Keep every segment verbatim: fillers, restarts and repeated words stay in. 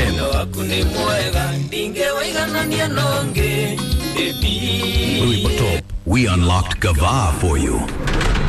F M. We unlocked Gava for you.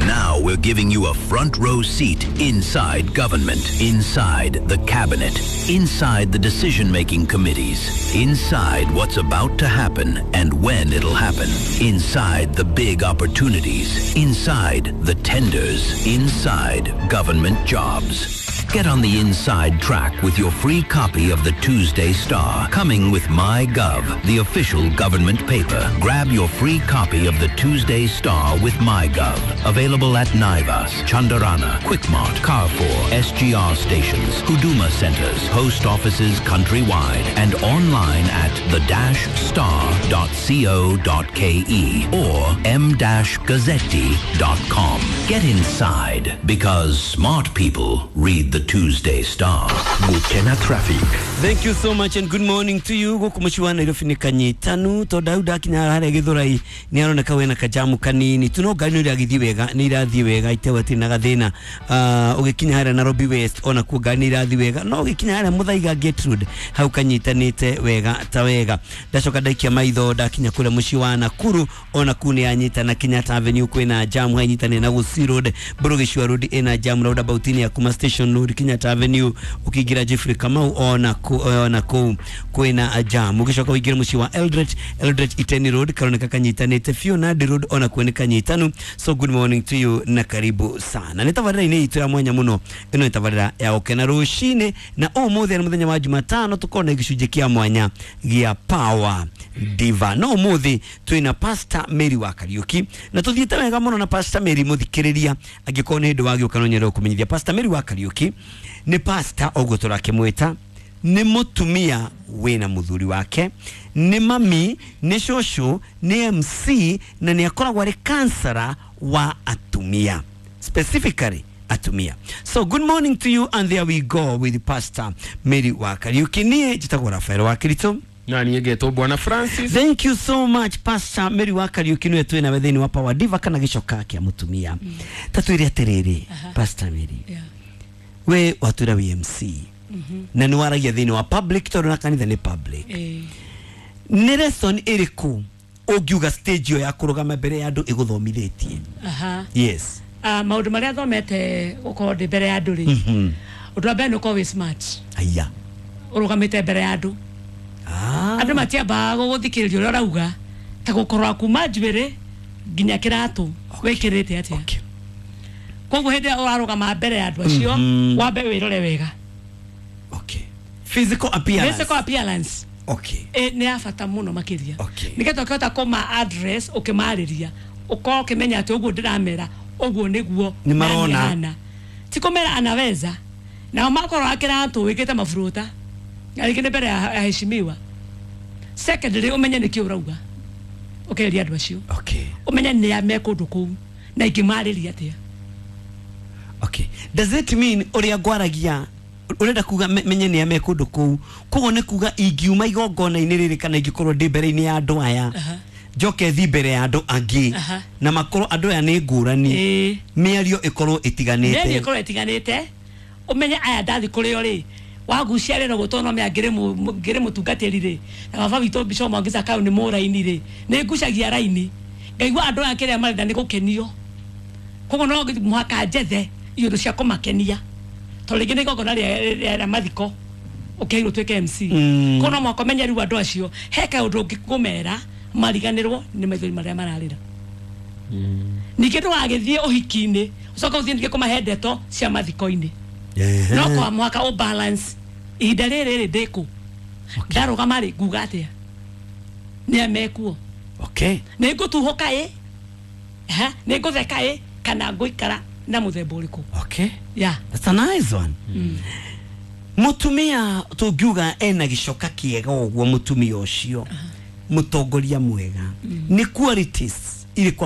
Now we're giving you a front row seat inside government, inside the cabinet, inside the decision making committees, inside what's about to happen and when it'll happen, inside the big opportunities, inside the tenders, inside government jobs. Get on the inside track with your free copy of the Tuesday Star, coming with MyGov, the official government paper. Grab your free copy of the Tuesday Star with MyGov. Available at Naivas, Chandarana, Quickmart, Carrefour, S G R stations, Huduma centers, post offices countrywide, and online at the dash star dot co dot k e or m dash gazzetti dot com. Get inside, because smart people read the Tuesday Star. Gukena traffic. Thank you so much and good morning to you. Guku muciĩ wa Nairobi nĩ kanyitanu tondũ hau ndakinya harĩa Gĩthũrai nĩ aroneka wĩna kajamu kanini tu, no ngari nĩ iragĩthiĩ wega, nĩ irathiĩ wega itewe atirĩ na gathĩna. uh, ũgĩkinya harĩa Nairobi West ona kuo ngari nĩ irathiĩ wega, no ũgĩkinya harĩa Muthaiga Gate Road hau kanyitanĩte wega ta wega. Ndacoka ndaikia maitho ndakinya kũrĩa mũciĩ wa Nakuru, ona kuu nĩ yanyitana. Kenyatta Avenue kwĩna jamu hanyitanĩ na Gusii Road, Mbũrũ Road ĩna jamu roundabout-inĩ ya kuma Station Road, Kenyatta Avenue ũkĩingĩra Jeffrey Kamau ona ku, ona kũu kwĩna jam. Ũgĩcoka ũingĩre mũciĩ wa Eldoret, Eldoret Iten Road karoneka kanyitanĩte biũ, Nandi Road ona kuo nĩ kanyitanu. So good morning to you na karibu sana. Nĩ tabarĩra-inĩ itũ ya mwanya mũno, ĩno nĩ tabarĩra ya gũkena rũcinĩ, na ũmũthĩ nĩ mũthenya wa Jumatano, tũkorwo na gĩcunjĩ kĩa mwanya gĩa Power Diva, no ũmũthĩ twĩna Pastor Mary wa Kariuki na tũthiĩte wega mũno na Pastor Mary. Mũthikĩrĩria, angĩkorwo nĩ hĩndĩ wagĩũka, no nyende gũkũmenyithia Pastor Mary wa Kariuki nĩ pastor ũguo tũrakĩmwĩta, nĩ mũtumia wĩna mũthuri wake, nĩ mami, nĩ cũcũ, nĩ M C na nĩ akoragwo arĩ counselor wa atumia, specifically atumia. So good morning to you, and there we go with Pastor Mary wa Kariuki. Niĩ njĩtagwo Rafael wa Kirito. Na niĩ ngetwo Bwana Francis. Thank you so much. Pastor Mary wa Kariuki nĩwe twĩ nawe thĩinĩ wa Power Diva kana gĩcoka kĩa mũtumia. Ta twĩre atĩrĩrĩ, Pastor Mary, Yeah. we watwĩra wĩ M C na nĩ waragia thĩinĩ wa public tondũ na kanitha nĩ public. Eh, Nĩ lesson ĩrĩkũ ũngiuga stage ĩyo ya kũrũgama mbere ya andũ ĩgũthomithĩtie? Aha. Yes. Ah, maũndũ marĩa thomete gũkorwo ndĩ mbere ya andũ rĩ, ũndũ wa mbere nĩ ũkorwo wĩ smart. Aya. Ũrũgamĩte mbere ya andũ, ah. andũ matiambaga gũgũthikĩrĩria ũrĩa ũrauga ta gũkorwo kuma njuĩrĩ nginya kĩratũ wĩkĩrĩte atĩa. Okay. Koguo hĩndĩ ĩrĩa ũrarũgama mbere ya andũ acio, wambe wĩrore wega. Okay, physical appearance. Physical appearance okay ĩ nĩ ya bata mũno makĩria, Okay. nĩgetha ũkĩhota kũma address, ũkĩmarĩria ũkorwo ũkĩmenya atĩ ũguo ndĩramera ũguo nĩguo Nĩ marona. nani hana. Ti kũmera anaweza nao makorwo akĩratũ wĩkĩte maburuta na rĩngĩ nĩ mbere ya ya heshimiwa. Secondly, ũmenye nĩkĩ ũrauga ũkĩrĩria andũ acio, okay ũmenye nĩ a me kũndũ kũu na ingĩmarĩria atĩa. Okay, does it mean ũrĩa ngwaragia, ũrenda kuga me- menye nĩ ame kũndũ kũu, koguo nĩ kuga ingiuma igongona-inĩ rĩrĩ kana ingĩkorwo ndĩ mbere-inĩ ya andũ aya, Aha. njoke thi mbere ya andũ angĩ, Aha. na makorwo andũ aya nĩ ngũrani, Ĩĩ. mĩario ĩkorwo mĩario ĩtiganĩte? Ĩkorwo ĩtiganĩte. Ũmenye aya ndathi kũrĩ o rĩ wagucia rĩ no gũtwo no mea ngĩrĩ mũ- ngĩrĩ mũtungatĩri rĩ, na baba witũ Bishop Mwangi Zakayo nĩ mũraini rĩ, nĩ ngucagia raini ngaigua andũ aya kĩrĩa marenda nĩ gũkenio, koguo no mũhaka njethe iũndũ cia kũmakenia, tondũ rĩngĩ nĩ igongona rĩa rĩa- rĩa mathiko ũkĩheirwo tuĩke M C. Mm. Koguo no mũhaka ũmenye rĩu andũ acio he kaũndũ ũngĩkũmera mariganĩrwo nĩ maithori marĩa mararĩra. Ningĩ ndũgagĩthiĩ ũhiki-inĩ ũcoke ũthiĩ ningĩ kũmahe ndeto cia mathiko-inĩ. Ehe. No kwa mũhaka ũ balance ihinda rĩrĩ rĩ ndĩkũ ndarũgama rĩ nguga atĩa nĩ amekuo. Okay nĩ ngũtuhũka ĩ, ha, nĩ ngũtheka ĩ, kana ngũikara na mũthemba ũrĩkũ? Okay ya. That's a nice one. Mutumia tungiuga ena gicoka kiega ũguo, mutumia ũcio mũtongoria mwega, nĩ qualities irĩkũ?